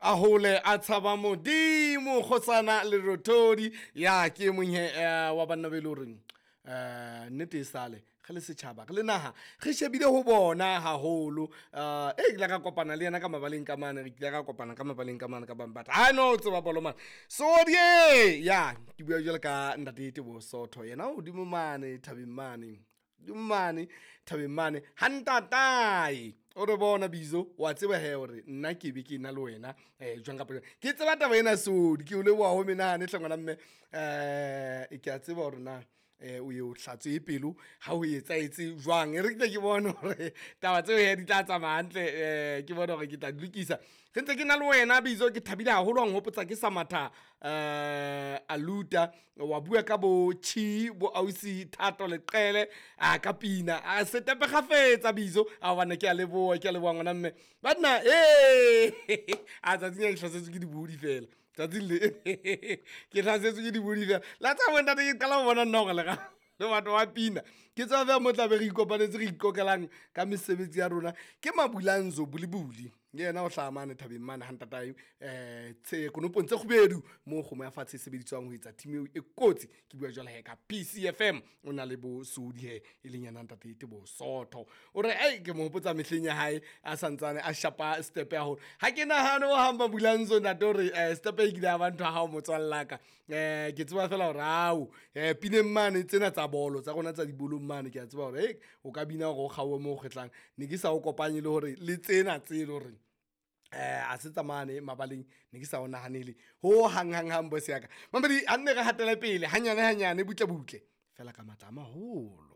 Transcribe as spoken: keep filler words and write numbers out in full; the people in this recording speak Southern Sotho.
A hole a tshaba Modimo, kgosana Lerothodi. Ya ke e mong he eh, wa banna be e le horeng um nnete e sale re le setjhaba, re le naha, re shebile ho bona haholo. um E ke ile ka kopana le yena ka mabaleng ka mane, re kile ka kopana ka mabaleng ka mane ka bang, but ha no tseba bolo mane sodie. Ya ke bua jwalo ka ntate Teboho Sotho, yena hodimo mane thabeng mane, hodimo mane thabeng mane ha ntatae. O re bona Bizo, wa tseba he hore nna ke be ke na le wena um jwang kapa jwang, ke tseba taba ena sodi. Ke o leboha ho menahane hle ngwana mme. um Ke a tseba hore na um o ye o hlatswe pelo ha o etsahetse jwang. E re ke tle ke bone hore taba tseo he di tla tsamaya hantle, um ke bone hore ke tla di lokisa. Re ntse ke na le wena Bizo, ke thabile haholo wa nghopotsa ke sa matha um aluta wa bua ka bo chi bo ausi Thato Leqele a ka pina a setepe kgafetsa Bizo. A bana ke a leboha, ke a leboha ngwana mme banna. E a tsatsing a ke hlasetswe ke dibodi fela, tsatsing le ke hlasetswe ke dibodi fela la tsa bo ntate. Ke qala ho bona nna hore le le batho ba pina, ke tseba fela mo tlabe re ikopanetse, re ikokelang ka mesebetsi ya rona. Ke Mabulanzo Bulibuli, le yena o hlaha mane thabeng mane ha ntatae, um konopong tse kgubedu moo kgomo ya fatshe e sebediswang ho etsa team eo e kotsi. Ke bua jwale he ka P C F M, o na le bo Sodi he, e leng yena ntate Teboho Sotho. O re ei ke mo hopotsa mehleng ya hae a santsane a shapa step ya hore ha ke nahane ho hang Mabulanzo ntate hore eh, step e kile ya ba ntho ya hao motswalla ka. Eh, ke tseba fela hore ao eh, pineng mane tsena tsa bolo tsa rona tsa dibolong mane, ke a tseba hore hey, o ka bina hore o kgaohe moo o kgetlang. Ne ke sa o kopanye le hore le tsena tse le hore eh a se tsamane mabaleng, ne ke sa o nahanele ho hang hang hang boss ya ka. Mamedi a nne re hatele pele hanyane hanyane, butle butle fela ka matla a maholo.